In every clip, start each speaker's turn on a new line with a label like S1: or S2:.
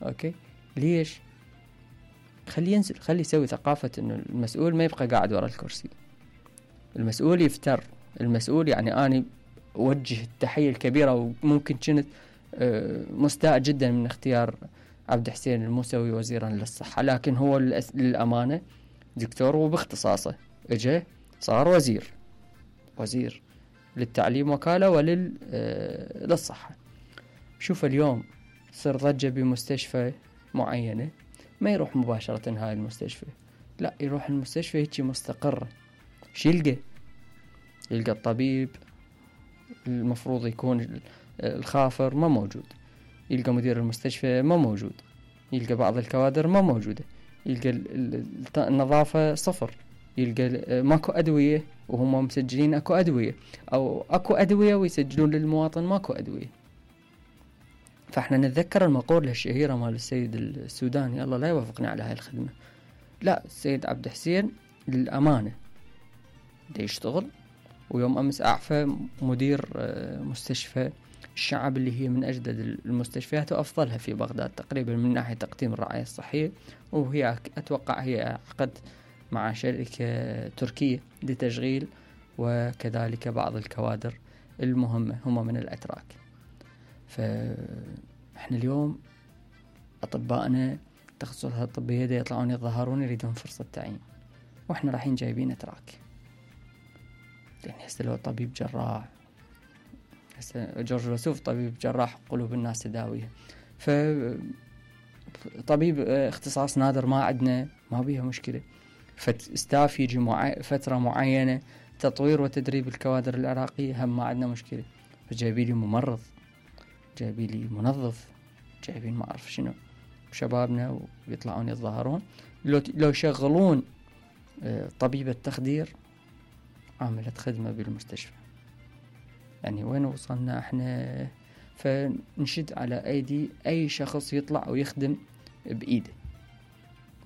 S1: اوكي ليش؟ خلي ينزل، خلي يسوي ثقافة انه المسؤول ما يبقى قاعد ورا الكرسي، المسؤول يفتر، المسؤول يعني اني اوجه التحية الكبيرة، وممكن كنت مستاء جدا من اختيار عبد حسين الموسوي وزيرا للصحة، لكن هو للأمانة دكتور وباختصاصه اجى صار وزير للتعليم وكالة للصحة. شوف اليوم صار ضجة بمستشفى معينة، ما يروح مباشرة هاي المستشفى، لا يروح المستشفى هيك مستقرة. شو يلقى الطبيب المفروض يكون الخافر ما موجود، يلقى مدير المستشفى ما موجود، يلقى بعض الكوادر ما موجودة، يلقى النظافة صفر، يلقى ماكو أدوية وهم مسجلين أكو أدوية، أو أكو أدوية ويسجلون للمواطن ماكو أدوية. فإحنا نتذكر المقولة الشهيرة مال السيد السوداني، الله لا يوفقني على هاي الخدمة، لا السيد عبد حسين للأمانة دا يشتغل. ويوم أمس أعفى مدير مستشفى الشعب اللي هي من أجدد المستشفيات وأفضلها في بغداد تقريبا من ناحية تقديم الرعاية الصحية، وهي أتوقع هي عقد مع شركة تركية لتشغيل وكذلك بعض الكوادر المهمة هم من الأتراك. فإحنا اليوم أطبائنا تخصصات الطبية يطلعون يظهرون يريدون فرصة تعيين، وإحنا رايحين جايبين أتراك. يعني هسه لو طبيب جراح، هسه جورج وسوف طبيب جراح قلوب الناس تداويها، فطبيب اختصاص نادر ما عندنا، ما بيها مشكلة. فاستاف يجي فترة معينة تطوير وتدريب الكوادر العراقية هم ما عندنا مشكلة. فجايبين لي ممرض، جايبين لي منظف، جايبين ما أعرف شنو شبابنا ويطلعون يتظاهرون. لو يشغلون طبيبة تخدير عاملة خدمة بالمستشفى، يعني وين وصلنا احنا؟ فنشد على ايدي اي شخص يطلع ويخدم بايده.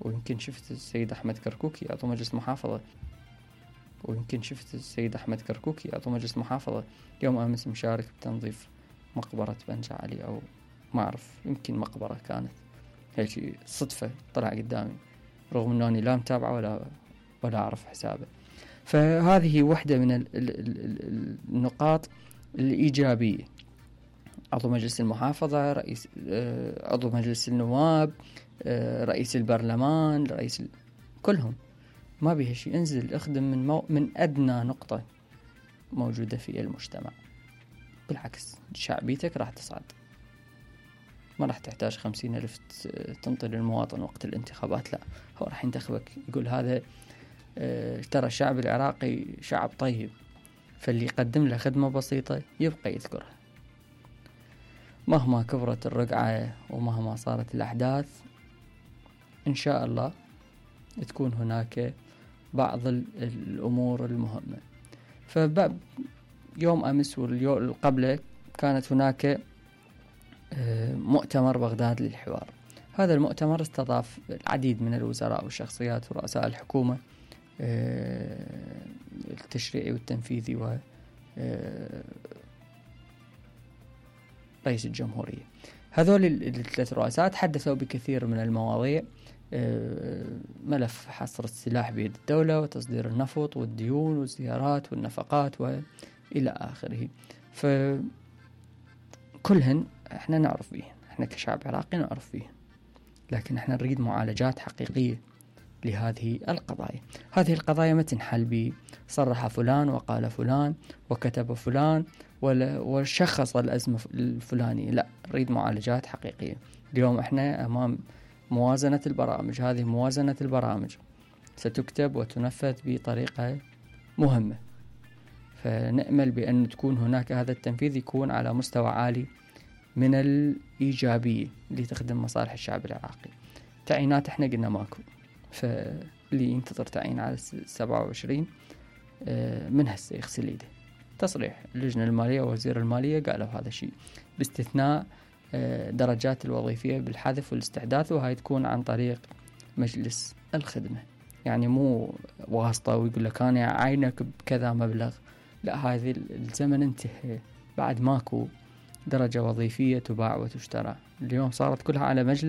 S1: ويمكن شفت السيد احمد كركوكي عضو مجلس محافظة، يوم امس مشارك بتنظيف مقبرة بنجا علي، او ما اعرف يمكن مقبرة كانت هيك صدفة طلع قدامي، رغم انه لا متابعه ولا اعرف حسابه. فهذه واحدة من النقاط الإيجابية. عضو مجلس المحافظة، رئيس عضو مجلس النواب، رئيس البرلمان، كلهم ما بيها شيء. انزل اخدم من أدنى نقطة موجودة في المجتمع، بالعكس شعبيتك راح تصعد، ما راح تحتاج 50,000 تنطي للمواطن وقت الانتخابات، لا هو راح ينتخبك يقول هذا ترى الشعب العراقي شعب طيب، فاللي يقدم له خدمة بسيطة يبقى يذكرها. مهما كبرت الرقعة ومهما صارت الأحداث إن شاء الله تكون هناك بعض الأمور المهمة. يوم أمس واليوم قبله كانت هناك مؤتمر بغداد للحوار. هذا المؤتمر استضاف العديد من الوزراء والشخصيات ورؤساء الحكومة التشريعي والتنفيذي رئيس الجمهورية. هذول الثلاث رؤساء تحدثوا بكثير من المواضيع، ملف حصر السلاح بيد الدولة، وتصدير النفط، والديون والزيارات والنفقات وإلى آخره. فكلهن احنا نعرف فيهن، احنا كشعب عراقي نعرف فيهن، لكن احنا نريد معالجات حقيقية لهذه القضايا. هذه القضايا ما تنحل بصرح فلان وقال فلان وكتب فلان وشخص الأزمة الفلانية، لا نريد معالجات حقيقية. اليوم احنا أمام موازنة البرامج، هذه موازنة البرامج ستكتب وتنفذ بطريقة مهمة، فنأمل بأن تكون هناك هذا التنفيذ يكون على مستوى عالي من الإيجابية لتخدم مصالح الشعب العراقي. تعيينات احنا قلنا ماكو، فاللي ينتظر تعيين على 27 من هسه يغسل ايده. تصريح اللجنة المالية ووزير المالية قالوا هذا الشيء، باستثناء درجات الوظيفية بالحذف والاستحداث، وهاي تكون عن طريق مجلس الخدمة، يعني مو واسطة ويقول لك أنا عينك بكذا مبلغ، لا هذه الزمن انتهى، بعد ماكو درجة وظيفية تباع وتشترى. اليوم صارت كلها على مجلس